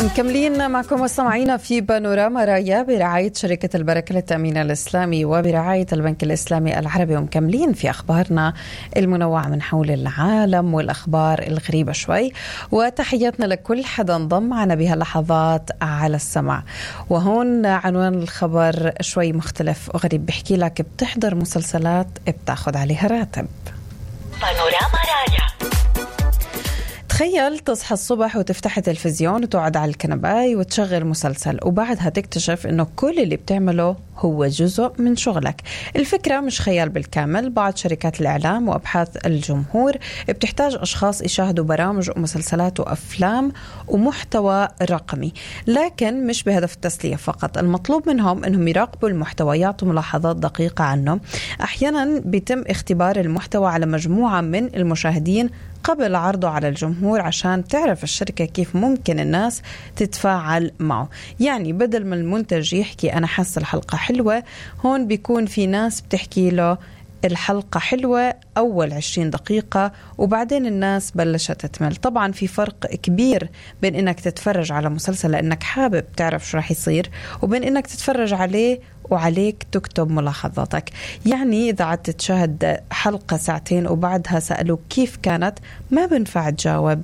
مكملين معكم مستمعينا في بانوراما رايا برعاية شركة البركة للتأمين الإسلامي وبرعاية البنك الإسلامي العربي، ومكملين في أخبارنا المنوعة من حول العالم والأخبار الغريبة شوي. وتحياتنا لكل حدا انضم معنا بهاللحظات على السمع. وهون عنوان الخبر شوي مختلف وغريب، بحكي لك بتحضر مسلسلات بتاخد عليها راتب. بانوراما رايا. تخيل تصحى الصبح وتفتح التلفزيون وتقعد على الكنباي وتشغل مسلسل، وبعدها تكتشف انه كل اللي بتعمله هو جزء من شغلك. الفكرة مش خيال بالكامل. بعض شركات الإعلام وأبحاث الجمهور بتحتاج أشخاص يشاهدوا برامج ومسلسلات وأفلام ومحتوى رقمي، لكن مش بهدف التسلية فقط. المطلوب منهم أنهم يراقبوا المحتوى، يعطوا ملاحظات دقيقة عنه. أحيانا بيتم اختبار المحتوى على مجموعة من المشاهدين قبل عرضه على الجمهور عشان تعرف الشركة كيف ممكن الناس تتفاعل معه. يعني بدل ما المنتج يحكي أنا حاسة الحلقة حلوة، هون بيكون في ناس بتحكي له الحلقة حلوة أول 20 دقيقة وبعدين الناس بلشت تمل. طبعا في فرق كبير بين إنك تتفرج على مسلسل لأنك حابب تعرف شو رح يصير، وبين إنك تتفرج عليه وعليك تكتب ملاحظاتك. يعني إذا عدت تشاهد حلقة ساعتين وبعدها سألوك كيف كانت، ما بنفع تجاوب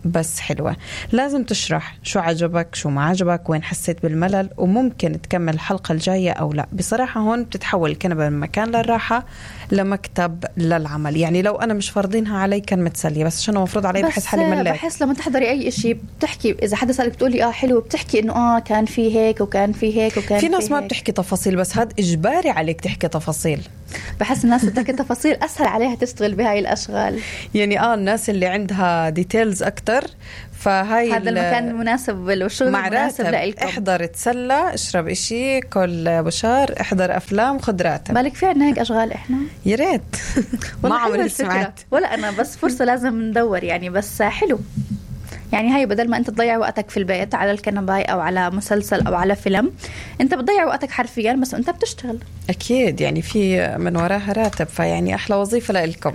بس حلوة. لازم تشرح شو عجبك شو ما عجبك، وين حسيت بالملل، وممكن تكمل الحلقة الجاية أو لا. بصراحة هون بتتحول الكنبة من مكان للراحة لمكتب للعمل. يعني لو أنا مش فرضينها علي كان متسلية، بس عشان مفروض علي بحس حالي مليت. بحس لما تحضري أي إشي بتحكي، إذا حدا سألك بتقولي حلو، بتحكي إنه كان في هيك وكان في هيك وكان في ناس ما بتحكي تفاصيل، بس هاد إجباري عليك تحكي تفاصيل. بحس الناس بتحكي تفاصيل أسهل عليها تشتغل بهاي الأشغال. يعني الناس اللي عندها ديتيلز أكتر، فهاي هذا المكان المناسب والشغل المناسب لإلكم. احضر تسلى، اشرب إشي، كل بشار، احضر أفلام، خد راتب. بالك في عنا هيك أشغال إحنا؟ يا ريت. ما عمري سمعت ولا أنا، بس فرصة لازم ندور يعني. بس حلو يعني هاي بدل ما أنت تضيع وقتك في البيت على الكنباي أو على مسلسل أو على فيلم، أنت بتضيع وقتك حرفيا بس أنت بتشتغل. أكيد يعني في من وراها راتب، فيعني أحلى وظيفة لإلكم.